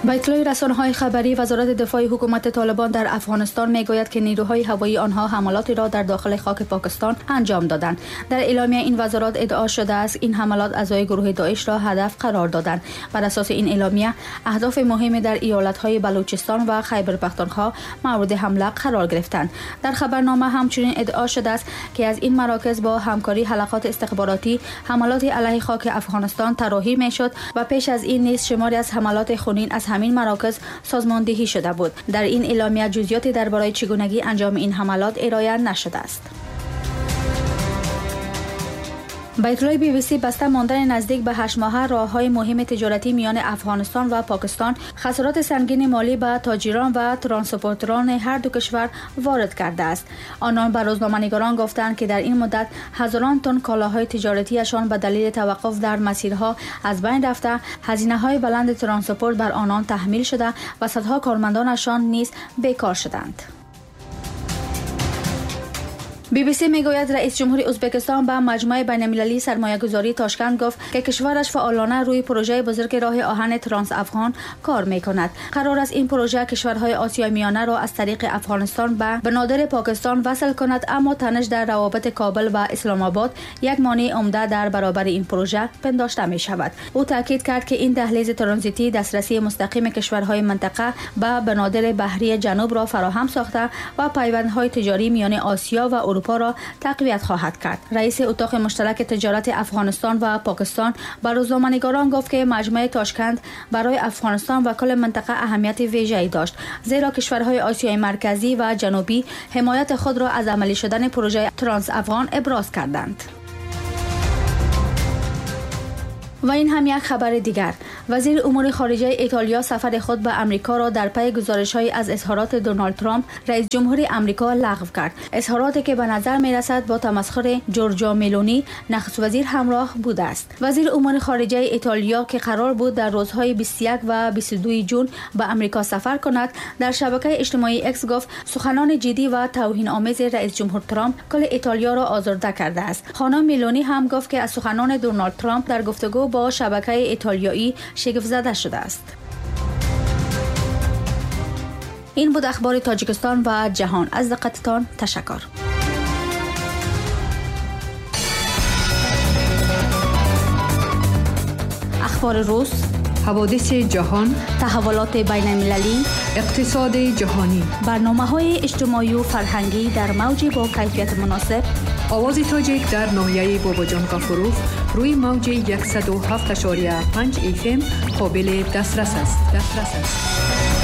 با اطلاع رسانه‌های خبری، وزارت دفاع حکومت طالبان در افغانستان می‌گوید که نیروهای هوایی آنها حملاتی را در داخل خاک پاکستان انجام دادند. در اعلامیه این وزارت ادعا شده است این حملات اعضای گروه داعش را هدف قرار دادند. بر اساس این اعلامیه، اهداف مهم در ایالت‌های بلوچستان و خیبر پختونخوا مورد حمله قرار گرفتند. در خبرنامه همچنین ادعا شده است که از این مراکز با همکاری حلقات استخباراتی حملات علیه خاک افغانستان طراحی می‌شد و پیش از این نیز شماری از حملات خونین از همین مراکز سازماندهی شده بود. در این اعلامیه جزئیاتی درباره چگونگی انجام این حملات ارائه نشده است. به اطلاع بی بی سی، بسته ماندن نزدیک به 8 ماهه راه‌های مهم تجارتی میان افغانستان و پاکستان خسارات سنگین مالی به تاجران و ترانسپورتران هر دو کشور وارد کرده است. آنان به روزنامه‌نگاران گفتند که در این مدت هزاران تن کالاهای تجارتیشان به دلیل توقف در مسیرها از بین رفته، هزینه‌های بلند ترانسپورت بر آنان تحمیل شده و صدها کارمندانشان نیز بیکار شدند. بی بی سی میگوید رئیس جمهور ازبکستان به مجمع بین‌المللی سرمایه‌گذاری تاشکند گفت که کشورش فعالانه روی پروژه بزرگ راه آهن ترانس افغان کار میکند. قرار است این پروژه کشورهای آسیای میانه را از طریق افغانستان به بنادر پاکستان وصل کند، اما تنش در روابط کابل و اسلام آباد یک مانع عمده در برابر این پروژه پنداشته می شود. او تاکید کرد که این دهلیز ترانزیتی دسترسی مستقیم کشورهای منطقه به بنادر بحری جنوب را فراهم ساخته و پیوندهای تجاری میان آسیا و اروپا را تقویت خواهد کرد. رئیس اتاق مشترک تجارت افغانستان و پاکستان به روزنامه‌نگاران گفت که مجمع تاشکند برای افغانستان و کل منطقه اهمیت ویژه‌ای داشت، زیرا کشورهای آسیای مرکزی و جنوبی حمایت خود را از عملی شدن پروژه ترانس افغان ابراز کردند. و این هم یک خبر دیگر. وزیر امور خارجه ایتالیا سفر خود به امریکا را در پی گزارش‌های از اظهارات دونالد ترامپ رئیس جمهور امریکا لغو کرد. اظهاراتی که به نظر می‌رسد با تمسخر جورجیا ملونی نخست وزیر همراه بوده است. وزیر امور خارجه ایتالیا که قرار بود در روزهای 21 و 22 جون به امریکا سفر کند، در شبکه اجتماعی اکس گفت سخنان جدی و توهین‌آمیز رئیس جمهور ترامپ کل ایتالیا را آزرده کرده است. خانم ملونی هم گفت که از سخنان دونالد ترامپ در گفتگو با شبکه ایتالیایی شگفت زده شده است. این بود اخبار تاجیکستان و جهان. از دقتتان تشکر. اخبار روز، حوادث جهان، تحولات بین المللی، اقتصاد جهانی، برنامه‌های اجتماعی و فرهنگی در موج با کیفیت مناسب. آواز تاجیک در ناحیه باباجان غفوروف روی موج 107.5 FM قابل دسترس است.